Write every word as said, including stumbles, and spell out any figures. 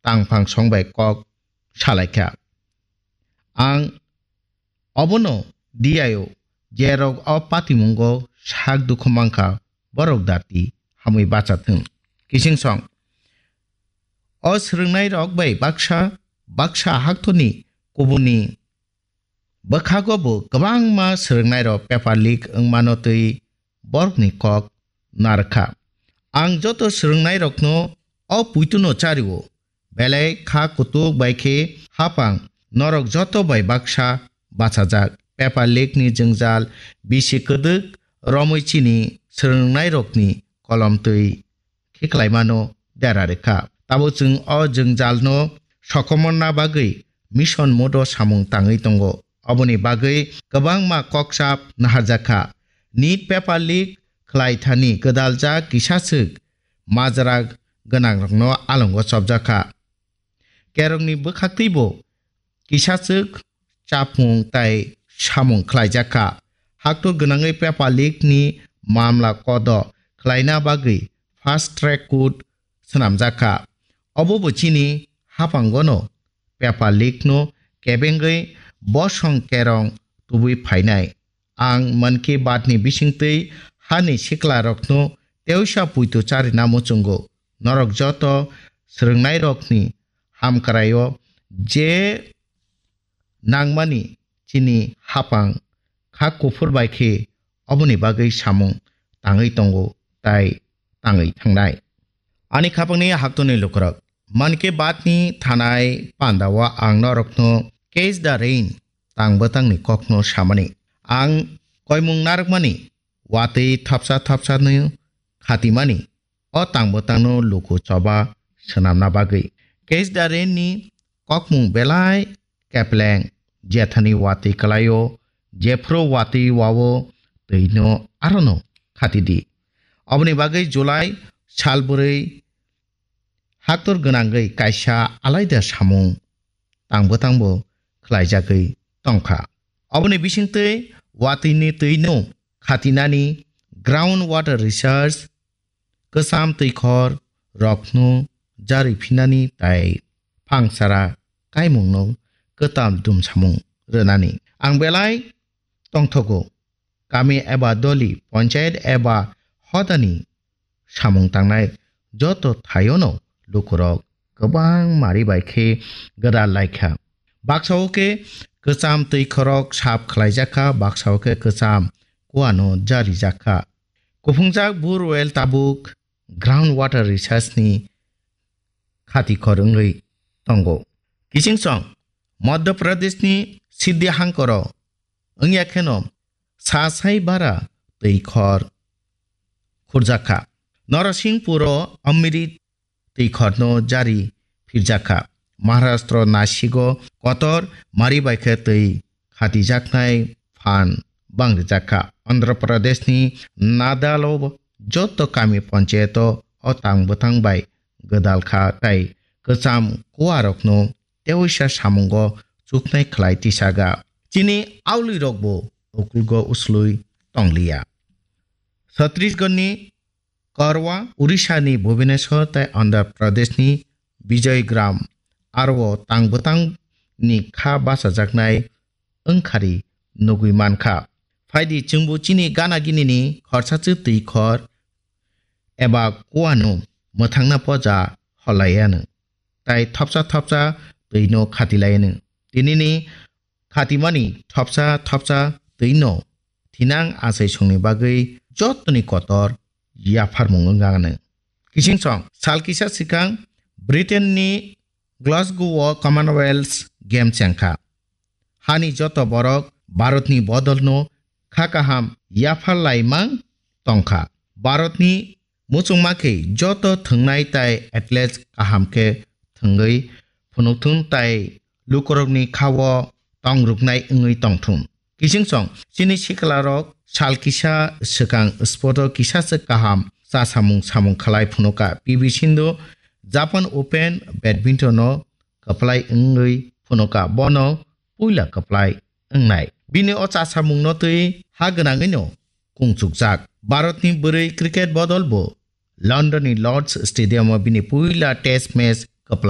tangphang song bai kok salaikha. Ang obono diyaio, jerok o patimungo sak dukhu mankha, borok dati hamwi bacha thung. Kising song. O swrwngnairok bai baksa, baksa haktorni kubuni bwkhago bo kwbangma swrwngnairok paper leak wngmano twi borokni kok narwkha. Ang joto swrwngnairokno o puituno chario, belai kha kutuk bai khe hapang norok joto bai baksa bachajak. Paper leak ni jwngjal bisi kwdwk romwi chini swrwngnairokni kolom twi khiklaimano dera rwkha. Tabuk chwng o jwngjalno sokomorna bagwi mission modo samung tangwi tongo. Oboni bagwi kwbangma kokchap naharjakha. Nit paper leak khlai thani gwdaljak kisaswk majra gwnangrokno alongo chopjakha. Kerongni bwkhaktwibo kisaswk chapmung tai samung khlaijakha. Haktor gwnangwi paper leak ni mamla kodo khlaina bagwi fast track court swnamjakha. Obo bo chini haphangono paper leak no kebengwi bosong kerong tubui phainai. Ang Mann Ki Baat ni bisingtwi hani siklarokno teisa puitu charina muchungo. Norok joto swrwngnairokni hamkraio je nangmani chini haphang kha kuphur bai khe oboni bagwi samung tangwi tongo tai tangwi thangnai. Ani khapangni haktorni lukurok, Mann Ki Baat ni thanai pandao ang norokno Catch the Rain tang bwtangni kokno samani. Ang koimung narwkmani watwi thapsa thapsa no khatimani o tang bwtangno luku choba swnamna bagwi. Catch the Rain ni kokmung belai kepleng, jethani watwi kwlaio, jephru watwi wao twino arono khatidi. Oboni bagwi July sal bwrwi haktor gwnangwi kaisa alaida samung tang bwtangbo khlaijagwi tongkha. Oboni bisingtwi watwini twino khatinani, ground water research, kwcham twikhor rokno jari phinani tai phangsara kaimungno kwtal dumsamung rwnani. Ang belai tongthogo, kami eba doli, ponchayat eba hodani samung tangnai joto thaiono lukurok kwbang mari bai khe gwdal laikha. Baksao khe kwcham twikhorok sap khlaijakha, baksao khe kwcham kuano jarijakha. Kuphungjak borewell tabuk ground water research ni khati khor wngwi tongo. Kiching song Madhya Pradesh ni Siddhi hangkoro wngya kheno sa sai bara twi khor khurjakha. Norasingpuro Amrit twi khorno jari phirjakha. Maharashtra Nasigo kotor mari bai khe twi khatijaknai phan bangrijakha. Andhra Pradesh ni Nadalo joto kami panchayato o tang bwtang bai gwdal kha tai kwcham kuarokno teoisa samungo chuknai khlai tisaga. Chini aulirokbo ukulgo uslui tongliya. Chhattisgarh ni Karwa, Odisha ni Bhubaneswar tai Andhra Pradesh ni Vijaygram aro tang bwtang ni kha bachajaknai wngkhari nugwi mankha. Phaidi chwngbo chini gana gini ni khorsa chwtwi khor eba kuano mwthangna poja holaiyano. Tai thopsa thopsa twi no khati lai no. Tini ni khatimani thopsa thopsa twi no thinang achai songni bagwi jotoni kotor yapharmung wngkha no. Kising song sal kisa swkang Britain ni Glasgow o Commonwealth Game chengkha. Hani joto borok Bharatni bodolno kha kaham yaphar laimang tongkha. Bharatni muchungma khe joto thwngnai tai athletes kaham khe thwngwi phunukthun tai lukurokni khao tongruknai wngwi tongthun. Kiching song chini siklarok sal kisa swkang sporto kisa se kaham chasamung samung khalai phunuka. P V Sindhu Japan Open badminton o kwplai wngwi phunuka, bono puila kwplai wngnai. Bini o chasamungno twi ha gwnangwino kungchukjak. Bharatni bwrwi cricket bodol bo London ni Lord's Stadium o bini puila test match kwplai